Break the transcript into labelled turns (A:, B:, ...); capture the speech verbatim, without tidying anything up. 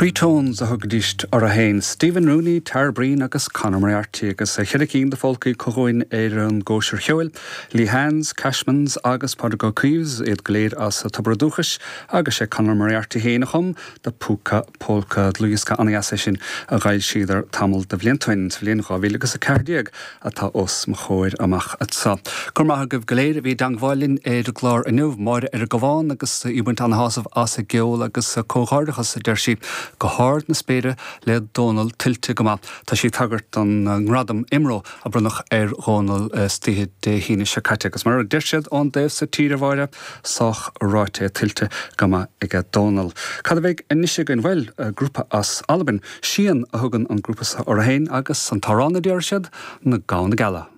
A: Three Tones a thugaidís orthu féin Stephen Rooney, Tara Breen agus Conor Moriarty agus a cheithre cinn de pholcaí chugainn ar an gcóisir cheoil, Lee Hands, Cashmans agus Pádraig Ó Caoimh iad go léir as Tobar an Dúchais agus sé Conor Moriarty féin a chum The Púca Polka dlúthdhiosca an-deas é sin a d'fhoilsíodar tamall de bhlianta ó shin sa bhliain dhá mhíle agus a ceathair déag atá os mo chomhair amach anseo. Go raibh maith agaibh go léir a bhí i dteangmháil linn ar an gclár inniu, Máire ar an gCabhán agus í ag baint an-shásamh as an gceol agus comhghairdeachas a deir sí go hard na spéire le Dónal tuillte go maith. Tá sí ag tagairt don ngradam IMRO a bronnadh ar Dhónal istoíche Dé hAoine seo caite agus mar a deir siad ón dtaobh so tíre a Mháire sách ráite tuillte go maith ag Dónal. Cad a bheidh anois againn bhuel grúpa as Albain, Sian a thugann an grúpa orthu féin agus an t-amhrán a deir siad na Gamhna Geala.